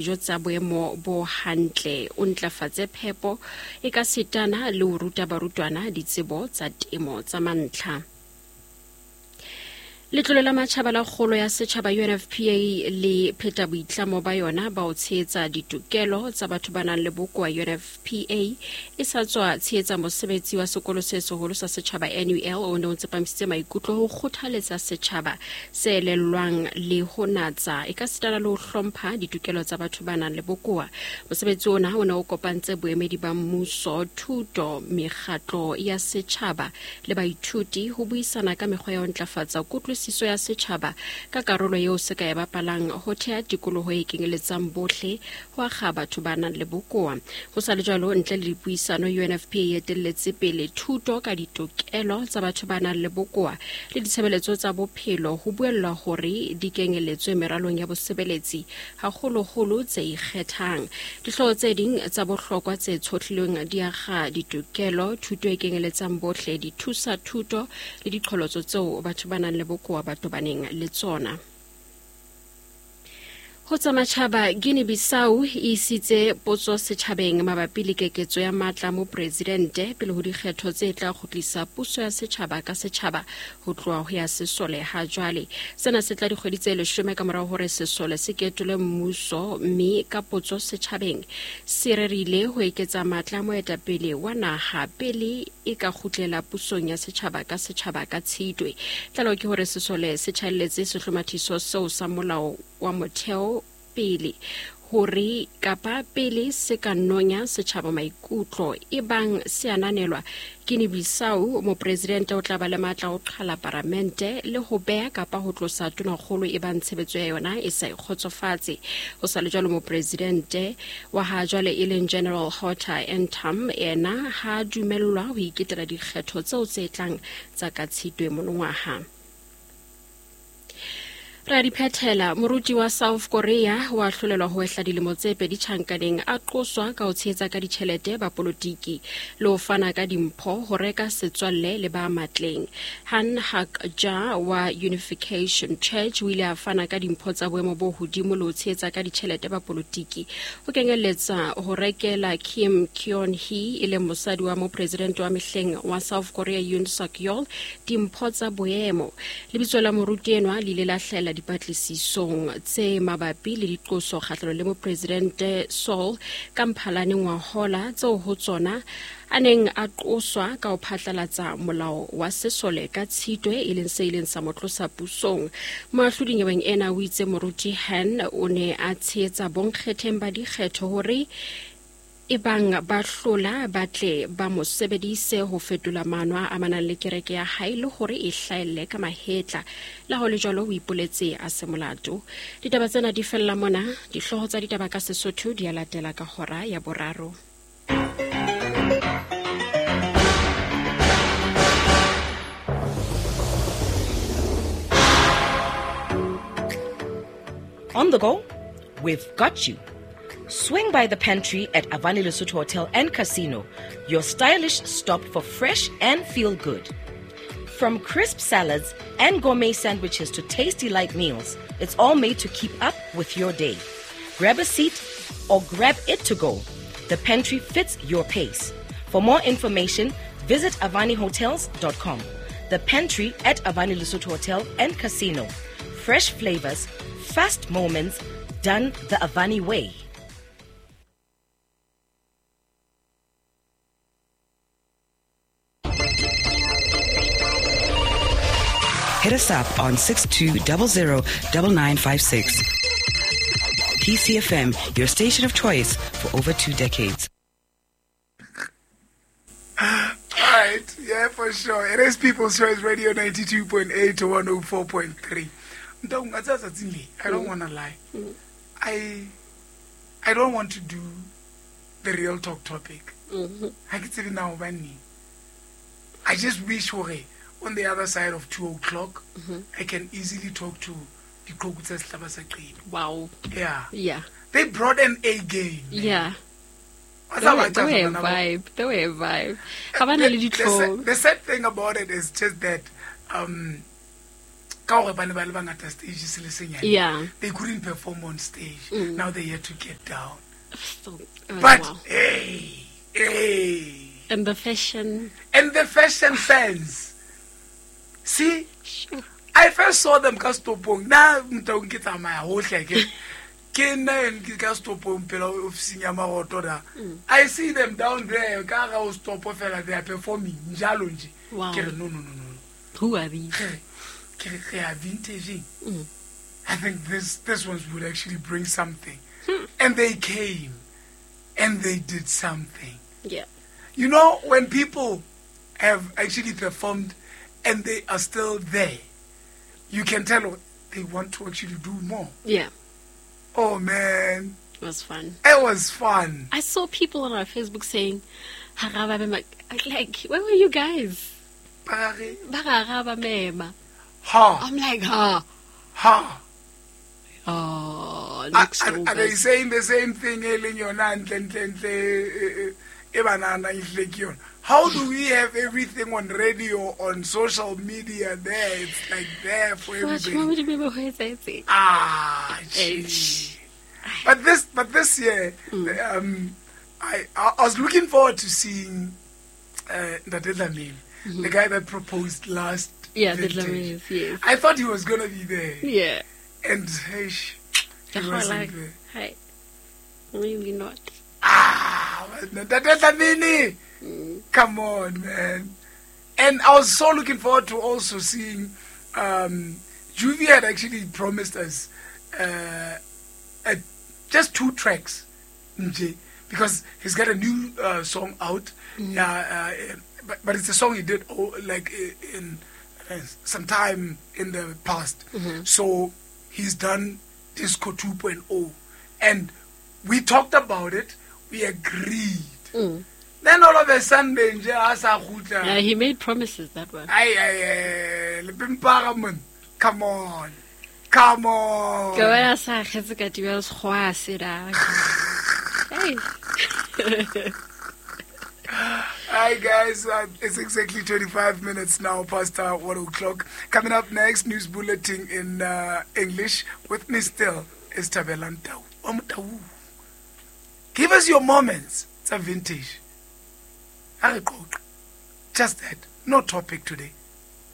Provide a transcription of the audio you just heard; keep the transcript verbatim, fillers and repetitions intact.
Dijo tsa boemo bo hantle, o ntlafatse phepo e ka setana le ho ruta barutwana ditsebo tsa temo tsa mantlha. Letlole la Matjhaba la Kgolo ya Setjhaba U N F P A le pheta boitlamo ba yona ba ho tshehetsa ditokelo tsa batho ba nang le bokowa. U N F P A e sa tswa tshehetsa mosebetsi wa sekolo se seholo sa setjhaba N U L o ne o tsepamisitse maikutlo ho kgothaletsa setjhaba se elellwang le ho natsa e ka sitana le ho hlompha ditokelo tsa batho ba nang le bokowa. Mosebetsi ona o ne o kopantse boemedi ba mmuso, thuto, mekgatlo ya setjhaba le baithuti ho buisana ka mekgwa ya ho ntlafatsa kutlwisiso siso ya setjhaba ka karolo eo se ka e bapalang ho thea tikoloho e kenyeletsang bohle ho akga batho ba nang le bokowa. Ho sa le jwalo, ntle le dipuisano, U N F P A e etelletse pele thuto ka ditokelo tsa batho ba nang le bokowa le ditshebeletso tsa bophelo ho buellwa hore di kenyeletswe meralong ya bosebeletsi, haholoholo tse ikgethang. Dihlooho tse ding tsa bohlokwa tse tshohlilweng di akga ditokelo, thuto e kenyeletsang bohle, dithusa thuto le diqholotso tseo batho ba nang le bokowa ba tobaneng le tsona. Ho tsa matjhaba, Guinea-Bissau e isitse potso setjhabeng mabapi le keketso ya matla mopresidente pele ho dikgetho tse tla kgutlisa puso ya setjhaba ka setjhaba ho tloha ho ya sesole ha jwale. Sena se tla dikgwedi tse leshome ka morao hore sesole se ketole mmuso, mme ka potso setjhabeng se rerile ho eketsa matla moetapele wa naha pele e ka kgutlela pusong ya setjhaba ka setjhaba ka Tshitwe. Tlaleho ke hore sesole se tjhaelletse sehlomathiso seo sa molao wa motheo pele hore kapa pele se ka nonya setjhaba maikutlo e bang se ananelwa. Guinea-Bissau, mopresidente o tla ba le matla ho qhala paramente le ho beha kapa ho tlosa tonakgolo e bang tshebetso ya yona e sa ikgotsofatse. Ho sa le jwalo, mopresidente wa ha jwale e leng General Horta Entam ena ha dumellwa ho iketela dikgetho tseo tse tlang tsa ka Tshitwe monongwaha. Ra diphethela, moruti wa South Korea wa hlolelwa ho ehla dilemo tse pedi tjhankaneng a qoswa ka ho tshehetsa ka ditjhelete ba politiki le ho fana ka dimpho ho reka setswalle le ba matleng. Han Hak-ja wa Unification Church o ile a fana ka dimpho tsa boemo bo hodimo le ho tshehetsa ka ditjhelete ba politiki ho kenyelletsa ho rekela Kim Keon-hee e leng mosadi wa mopresidente wa mehleng wa South Korea Yoon Suk-yeol dimpho tsa boemo. Lebitso la moruti enwa le ile la hlahella dipatlisisong tse mabapi le diqoso kgahlanong le mopresidente Seoul ka Mphalane ngwahola tseo ho tsona a neng a qoswa ka ho phatlalatsa molao wa sesole ka Tshitwe e leng se ileng sa mo tlosa pusong. Moahlodi nyeweng ena o itse moruti Han o ne a tshehetsa bonkgetheng ba dikgetho hore e bang ba hlola ba tle ba mo sebedise ho fetola maano a amanang le kereke ya hae le hore e hlahelle ka mahetla. Le ha ho le jwalo, o ipoletse a se molato. Ditaba tsena di fella mona. Dihlooho tsa ditaba ka Sesotho di a latela ka hora ya boraro. On the go, we've got you. Swing by the pantry at Avani Lesotho Hotel and Casino, your stylish stop for fresh and feel good. From crisp salads and gourmet sandwiches to tasty light meals, it's all made to keep up with your day. Grab a seat or grab it to go. The pantry fits your pace. For more information, visit avani hotels dot com. The pantry at Avani Lesotho Hotel and Casino. Fresh flavors, fast moments, done the Avani way. Hit us up on six two zero zero nine nine five six. P C F M, your station of choice for over two decades. All right, yeah, for sure. It is People's Choice Radio ninety-two point eight to one oh four point three. I don't want to lie. I I don't want to do the real talk topic. Mm-hmm. I just wish hore on the other side of two o'clock, mm-hmm. I can easily talk to the Wow. Yeah. Yeah. They brought an A game. Man. Yeah. They were, they were a vibe. They were a vibe. The, the, the sad thing about it is just that um Ka hore ba ne ba le bangata stage se le senyane. Yeah. They couldn't perform on stage. Mm. Now they had to get down. So, oh, But wow. hey, hey. And the fashion. And the fashion sense. See? Sure. I first saw them ka stopong. Na ntaung ke tsamaya hohle ke. Ke nna ke ka stopong pela ofising ya Maroto da. I see them down there ka ga o stopo fela they are performing njalo nje. Wow. Ke re no no no no. Who are these? Ke re re a vintage. Mm. I think this this ones would actually bring something. Hmm. And they came and they did something. Yeah. You know, when people have actually performed and they are still there, you can tell they want to actually do more. Yeah. Oh, man. It was fun. It was fun. I saw people on our Facebook saying, like, where were you guys? Ha. I'm like, ha. Ha. Oh, next are, are they saying the same thing? How do we have everything on radio, on social media there? It's like there for everybody. Ah, gee. But this, but this year, mm. um, I, I was looking forward to seeing uh, Ntate Dlamini, mm-hmm. the guy that proposed last. Yeah, the Dlamini, yes. I thought he was gonna be there. Yeah. And hey, he wasn't like, there. Hey, maybe not. Ah, Ntate Dlamini. Mm. Come on, man. And I was so looking forward to also seeing um, Juvie had actually promised us uh, a, just two tracks, because he's got a new uh, song out. Mm. Uh, uh, but, but it's a song he did oh, like in uh, some time in the past. Mm-hmm. So he's done Disco two point oh. And we talked about it. We agreed. Mm. Then all of a sudden, yeah, he made promises that one. Aye, aye, aye. Come on. Come on. Hey. Hi, guys. Uh, it's exactly twenty-five minutes now past uh, one o'clock. Coming up next, news bulletin in uh, English. With me still is Thabelang Tau. Give us your moments. It's a vintage. Just that. No topic today.